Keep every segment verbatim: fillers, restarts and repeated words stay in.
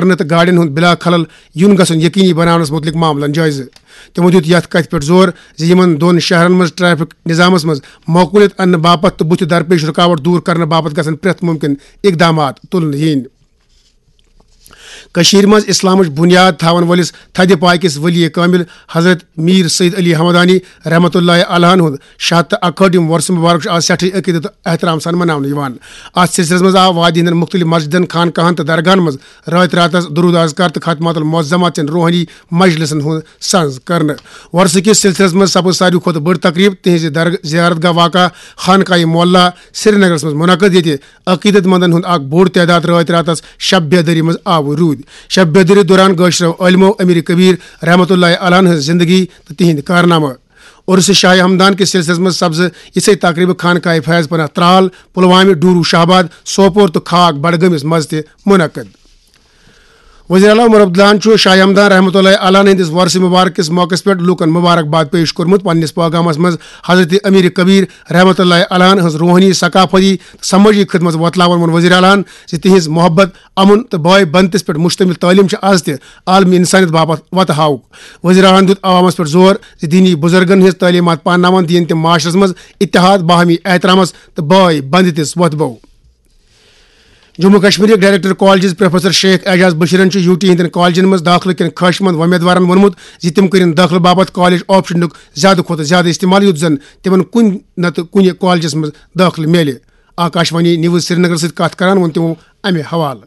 کرنہٕ تہٕ گاڑٮ۪ن ہُنٛد بلا خلل یُن گژھُن یقینی بناونس مُتعلق معاملن جٲیزٕ۔ تِمو دیُت یتھ کتھِ پٮ۪ٹھ زور زِ یِمن دۄن شہرن منٛز ٹریفک نظامس منٛز معقولیت اننہٕ باپتھ تہٕ بُتھِ درپیش رُکاوٹ دور کرنہٕ باپتھ گژھن پرٛٮ۪تھ مُمکِن اقدامات تُلنہٕ یِنۍ۔ کٔشیٖرِ منٛز اسلامٕچ بُنیاد تھاون وٲلِس تھدِ پایہِ کِس ولی کٲمِل حضرت میٖر سید علی ہمدانی رحمتہ اللہ علیہن ہُنٛد شیٚے ہتھ تہٕ اکہٲٹھِم وۄرسہٕ مُبارک چھُ آز سٮ۪ٹھٕے عقیدت تہٕ احترام سان مناونہٕ یِوان۔ اتھ سلسلس منٛز آو وادی ہٕنٛدٮ۪ن مُختٔلِف مسجدن، خانقاہن تہٕ درگاہن منٛز رٲتۍ راتس درود اذکار تہٕ ختمات المعظمات چٮ۪ن روحٲنی مجلسن ہُنٛد سنز کرنہٕ۔ وۄرسہٕ کِس سلسلس منٛز سپٕز ساروی کھۄتہٕ بٔڑ تقریب تِہنٛزِ درگ-، زیارت گاہ واقع خانقاہ معلیٰ سرینگرس منٛز منعقد، ییٚتہِ عقیدت مندن ہُنٛد اکھ بوٚڑ تعداد رٲتۍ راتس شب بیدٲری منٛز آوُر روٗدۍ۔ شب بیدٲری دوران گٲشرو عٲلمو امیر کبیر رحمتہ اللہ علیہ ہٕنٛز زندگی تہٕ تِہنٛدۍ کارنامہٕ۔ عرس شاہ ہمدان کِس سلسلس منٛز سپزٕ یِژھے تقریبہٕ خانقاہ فیض پناہ ترال، پلوامہ، ڈورو شاہباد، سوپور تہٕ خاک بڈگٲمِس منٛز تہِ منعقد۔ وزیر اعلیٰ عمر عبداللہن چھُ شاہ ہمدان رحمتہ اللہ علیہ ہٕنٛدِس وۄرثہٕ مبارک کِس موقعس پٮ۪ٹھ لوٗکن مبارک باد پیش کوٚرمُت۔ پننِس پیغامس منٛز حضرت امیر کبیر رحمتہ اللہ علیہ ہٕنٛز روحٲنی، ثقافتی تہٕ سمٲجی خدمت وۄتلاوان ووٚن وزیر اعلیٰ ہن زِ تِہنٛز محبت، امن تہٕ بٲے بندتس پٮ۪ٹھ مشتمل تعلیٖم چھِ از تہِ عالمی انسانیت باپتھ وتہٕ ہاوُک۔ وزیر اعلیٰ ہن دیُت عوامس پٮ۪ٹھ زور زِ دینی بزرگن ہٕنٛز تعلیمات پانناوان دِیِن تِم معاشرس منٛز اتحاد، باہمی احترامس تہٕ بٲے بندتس وۄتھٕ بو۔ جموں کشمیرٕکۍ director colleges professor Sheikh Ejaz بشیرن چھُ یو ٹی ہٕنٛدٮ۪ن کالجن منٛز دٲخلہٕ کٮ۪ن خواہش مند وۄمیدوارن ووٚنمُت زِ تِم کٔرِن دٲخلہٕ باپتھ کالج آپشنُک زیادٕ کھۄتہٕ زیادٕ استعمال، یُتھ زن تِمن کُنہِ نتہٕ کُنہِ کالجس منٛز دٲخلہٕ میلہِ۔ آکاشوانی نیوز سرینگر سۭتۍ کتھ کران ووٚن تِمو امہِ حوالہٕ۔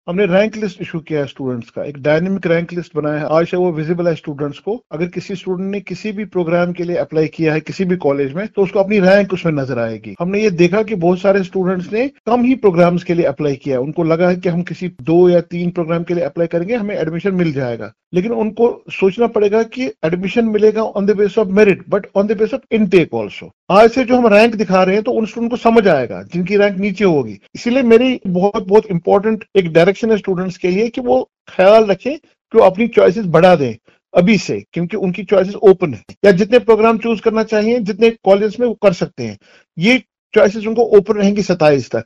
हमने रैंक लिस्ट इशू किया है स्टूडेंट्स का, एक डायनेमिक रैंक लिस्ट बनाया है. आज से वो विजिबल है स्टूडेंट्स को. अगर किसी स्टूडेंट ने किसी भी प्रोग्राम के लिए अप्लाई किया है किसी भी कॉलेज में, तो उसको अपनी रैंक उसमें नजर आएगी. हमने ये देखा कि बहुत सारे स्टूडेंट्स ने कम ही प्रोग्राम्स के लिए अप्लाई किया है. उनको लगा है कि हम किसी दो या तीन प्रोग्राम के लिए अप्लाई करेंगे, हमें एडमिशन मिल जाएगा. लेकिन उनको सोचना पड़ेगा कि एडमिशन मिलेगा on the basis of merit, but on the basis of intake also. आज से जो हम रैंक दिखा रहे हैं, तो उन स्टूडेंट को समझ आएगा जिनकी रैंक नीचे होगी. इसीलिए मेरी बहुत बहुत इंपॉर्टेंट एक डायरेक्शन है स्टूडेंट्स के लिए कि वो ख्याल रखें कि वो अपनी चॉइसेस बढ़ा दें अभी से, क्योंकि उनकी चॉइसेस ओपन है, या जितने प्रोग्राम चूज करना चाहिए, जितने कॉलेज में, वो कर सकते हैं. ये चॉइसेस उनको ओपन रहेंगी सत्ताईस तक.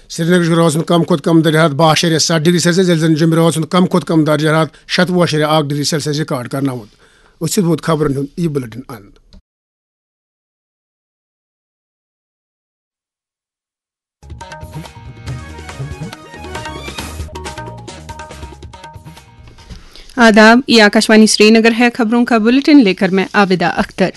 سرینگرٕچ روزُن کم کھۄتہٕ کم درجہ حرارت باہ اعشاریہ ستھ ڈگری سیلسیس، ییٚلہِ زن جوٚمہِ روزُن کم کھۄتہٕ کم درجہ حرارت شتوُہ اعشاریہ اکھ ڈگری سیلسیس ریکارڈ کرناوُن۔ أسۍ چھِ ووت خبرن ہُنٛد یہِ بُلٹن اند۔ آداب، یہ آکاشوانی سری نگر ہے۔ خبروں کا بلٹن لے کر میں عابدہ اختر۔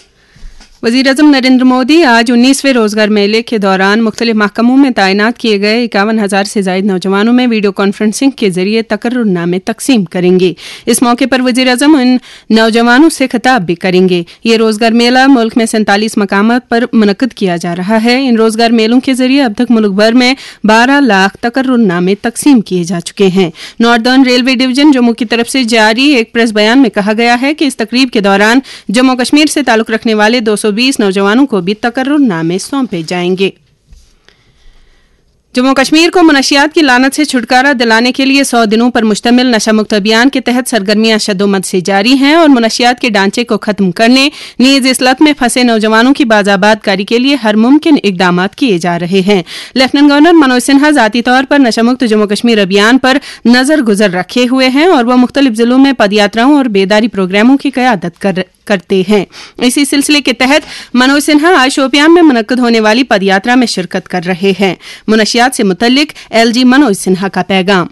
وزیر اعظم نریندر مودی آج انیسویں روزگار میلے کے دوران مختلف محکموں میں تعینات کیے گئے اکاون ہزار سے زائد نوجوانوں میں ویڈیو کانفرنسنگ کے ذریعے تقرر نامے تقسیم کریں گے۔ اس موقع پر وزیر اعظم ان نوجوانوں سے خطاب بھی کریں گے۔ یہ روزگار میلہ ملک میں سینتالیس مقامات پر منعقد کیا جا رہا ہے۔ ان روزگار میلوں کے ذریعے اب تک ملک بھر میں بارہ لاکھ تقرر نامے تقسیم کیے جا چکے ہیں۔ ناردرن ریلوے ڈویژن جموں کی طرف سے جاری ایک پریس بیان میں کہا گیا ہے کہ اس تقریب کے دوران جموں و کشمیر سے تعلق رکھنے والے دو سو بیس نوجوانوں کو بھی تقرر نامے سونپے جائیں گے۔ جموں و کشمیر کو منشیات کی لعنت سے چھٹکارا دلانے کے لیے سو دنوں پر مشتمل نشہ مکت ابھیان کے تحت سرگرمیاں شدومد سے جاری ہیں اور منشیات کے ڈھانچے کو ختم کرنے، نیز اس لت میں پھنسے نوجوانوں کی باز آباد کاری کے لیے ہر ممکن اقدامات کیے جا رہے ہیں۔ لیفٹیننٹ گورنر منوج سنہا ذاتی طور پر نشہ مکت جموں و کشمیر ابھیان پر نظر گزر رکھے ہوئے ہیں اور وہ مختلف ضلعوں میں پدیاتراؤں اور بیداری پروگراموں کی قیادت کر کرتے ہیں۔ اسی سلسلے کے تحت منوج سنہا آج شوپیان میں منعقد ہونے والی پدیاترا میں شرکت کر رہے ہیں۔ منشیات سے متعلق ایل جی منوج سنہا کا پیغام۔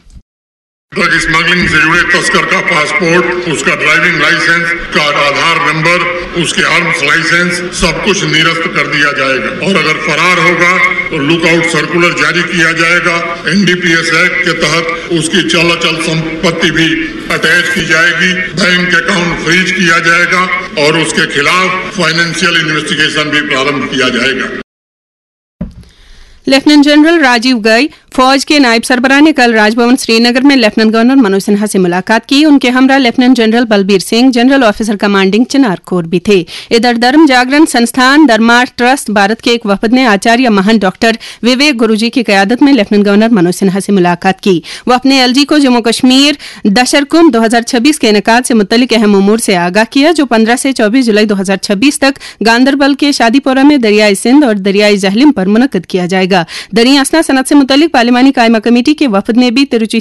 ڈرگ اسمگلنگ سے جڑے تسکر کا پاسپورٹ، اس کا ڈرائیونگ لائسنس، اس کا آدھار نمبر، اس کے آرمز لائسنس، سب کچھ نرست کر دیا جائے گا، اور اگر فرار ہوگا تو لک آؤٹ سرکولر جاری کیا جائے گا۔ N D P S act کے تحت اس کی چل اچل سمپتی بھی اٹیچ کی جائے گی، بینک اکاؤنٹ فریز کیا جائے گا اور اس کے خلاف فائنینشیل انویسٹیگیشن بھی پرارمبھ کیا جائے گا۔ لیفٹیننٹ جنرل راجیو گئی فوج کے نائب سربراہ نے کل راج بھون سری نگر میں لیفٹیننٹ گورنر منوج سنہا سے ملاقات کی۔ ان کے ہمراہ lieutenant general Balbir Singh, general officer commanding چنار کور بھی تھے۔ ادھر دھرم جاگرن سنستھان دھرما ٹرسٹ بھارت کے ایک وفد نے آچاریہ مہنت ڈاکٹر وویک گرو جی کی قیادت میں لیفٹیننٹ گورنر منوج سنہا سے ملاقات کی۔ وفد نے ایل جی کو جموں و کشمیر دشر کمبھ دو ہزار چھبیس کے انعقاد سے متعلق اہم امور سے آگاہ کیا، جو پندرہ سے چوبیس جولائی دو ہزار چھبیس تک گاندربل کے شادی پورہ میں دریائے سندھ اور دریائے جہلم پر منعقد کیا جائے گا۔ گا۔ دریں اثنا صنعت سے متعلق پارلیمانی قائمہ کمیٹی کے وفد نے بھی ترچی